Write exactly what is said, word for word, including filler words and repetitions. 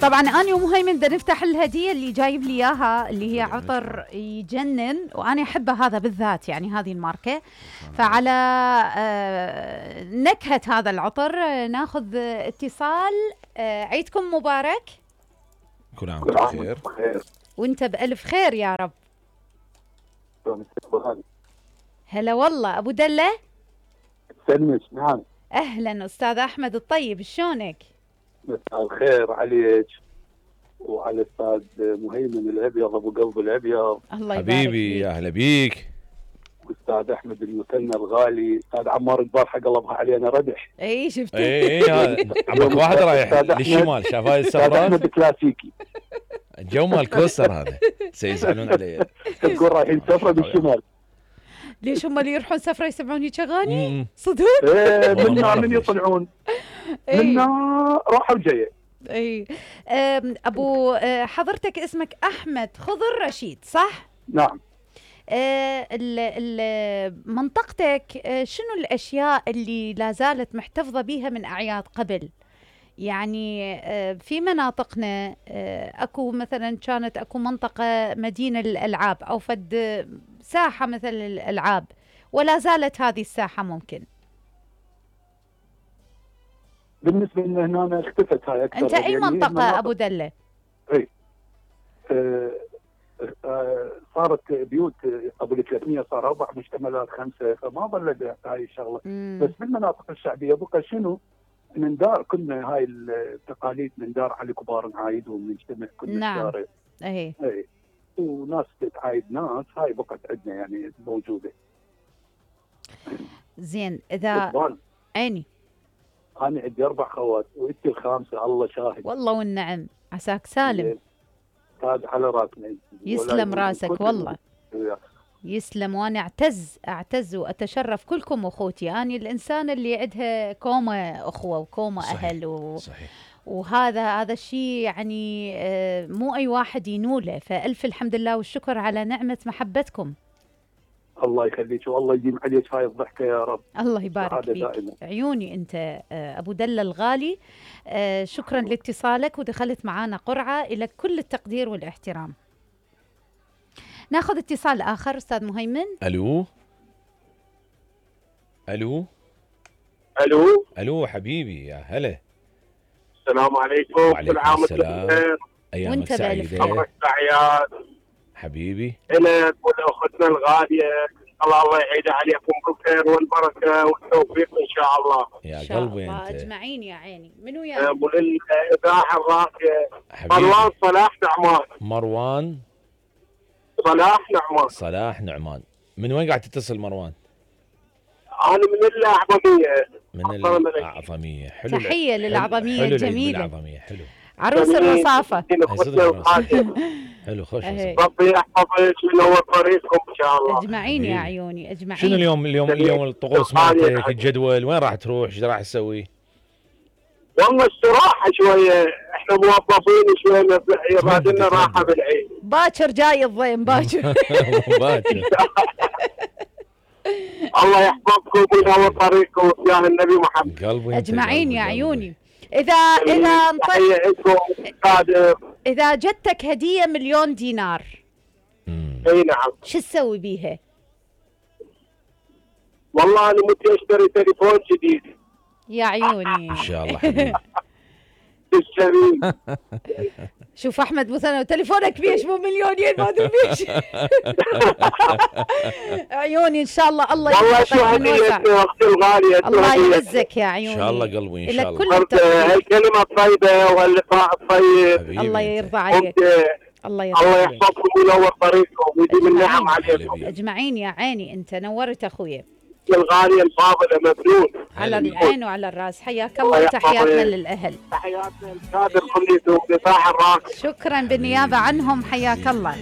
طبعا أنا ومهيمن بدنا نفتح الهدية اللي جايب لي إياها اللي هي عطر يجنن، وأنا أحبها هذا بالذات، يعني هذه الماركة. فعلى آه نكهة هذا العطر آه ناخذ اتصال. آه عيدكم مبارك. كل عام وانتم بخير. وانت بألف خير يا رب. هلا والله أبو دلة. سلمش. نعم. أهلا أستاذ أحمد الطيب، شلونك؟ مساء الخير عليك وعلى الأستاذ مهيمن الأبيض أبو قلب الأبيض. الله يبارك حبيبي، يا أهلا بيك. واستاذ أحمد المثنى الغالي، أستاذ عمار البارحة قلبها علينا ردح. اي شفت. اي اي عمك واحد رايح للشمال، شاف هاي أستاذ السفرات. أحمد كلاسيكي. الجو مال كوستر هذا سيزعلون علي. تقول رايحين سفرة بالشمال. ليش هم اللي يروحون سفرة يسمعون هيك اغاني؟ صدق؟ ايه منا من يطلعون منا راحة وجاية. اي ابو حضرتك اسمك احمد خضر رشيد صح؟ نعم. أه منطقتك شنو الاشياء اللي لا زالت محتفظة بها من اعياد قبل؟ يعني في مناطقنا اكو مثلا كانت اكو منطقة مدينة للالعاب او فد ساحة مثل الالعاب، ولا زالت هذه الساحة ممكن؟ بالنسبة لنا هنا اختفت هاي أكثر. أنت أي منطقة أبو دلة؟ أي آه آه صارت بيوت قبل ثلاثمية صار أربع مجتمعات خمسة، فما ظلت هاي الشغلة. مم. بس بالمناطق الشعبية بقى شنو؟ نندار كنا هاي التقاليد، نندار على كبار نعايد ونجتمع كنا. نعم. الشارع. أي. أي. وناس تتعايد ناس، هاي بقت عندنا يعني موجودة. زين إذا عيني أنا عندي أربع خوات وأنت الخامسة، الله شاهد. والله والنعم، عساك سالم. هذا على راسنا. يسلم راسك والله. يسلم، وأنا أعتز أعتز وأتشرف كلكم أخوتي. أنا الإنسان اللي عندها كومة أخوة وكومة صحيح. أهل و... صحيح. وهذا هذا الشيء يعني مو أي واحد ينوله، فألف الحمد لله والشكر على نعمة محبتكم. الله يخليك والله يديم عليك هاي الضحكة يا رب. الله يبارك فيك دائما. عيوني أنت أبو دلة الغالي. شكرا لاتصالك ودخلت معانا قرعة، إلى كل التقدير والاحترام. ناخذ اتصال آخر أستاذ مهيمن. ألو ألو ألو ألو حبيبي، يا هلا. السلام عليكم. وعليكم السلام. أيامك سعيدة. أمرك أعياد حبيبي. إلك ولأختنا الغالية، الله الله يعيد عليكم بالخير والبركة والتوفيق إن شاء الله. يا قلبي أنت. أجمعين يا عيني. منو يا؟ وللإذاعة الراقية مروان صلاح نعمان. مروان صلاح نعمان. صلاح نعمان. من وين قاعد تتصل مروان؟ أنا من الأعظمية. من الأعظمية. حلو. تحية للأعظمية الجميلة. الأعظمية حلو. عروس الرصافة. حلو خوش. ربي يحفظك وينور طريقكم ان شاء الله. اجمعين يا عيوني اجمعين. شنو اليوم اليوم اليوم الطقوس مالتك، الجدول وين راح تروح، ايش راح تسوي؟ والله استراحه شويه، احنا موظفين شويه بعد لنا راحه بالعيد. باكر جاي الضيم باكر. باكر. الله يحفظكم وينور طريقكم يا النبي محمد. قلبي اجمعين يا عيوني. إذا إذا إذا جتك هدية مليون دينار. أي نعم. شو تسوي بيها؟ والله أنا متى أشتري تليفون جديد. يا عيوني. إن شاء الله حبيبي. تشتري. شوف أحمد مثلا تليفونك بيش مو مليونين ما أدري بيش. عيوني إن شاء الله. الله والله شو هدية أختي الغالية. الله يعزك يا عيوني. إن شاء الله قلبي إن شاء الله. هالكلمة الطيبة واللقاء الطيب. الله يرضى عليك. الله يرضى الله يحفظكم وينور طريقكم ويديم النعم عليكم. أجمعين يا عيني أنت نورت أخويا. الغالية الفاضلة مبنون. على العين وعلى الراس. حياك الله وتحياتنا للأهل. تحياتنا الكادر كليته وقطاع الراس. شكرا بالنيابة عنهم. حياك الله.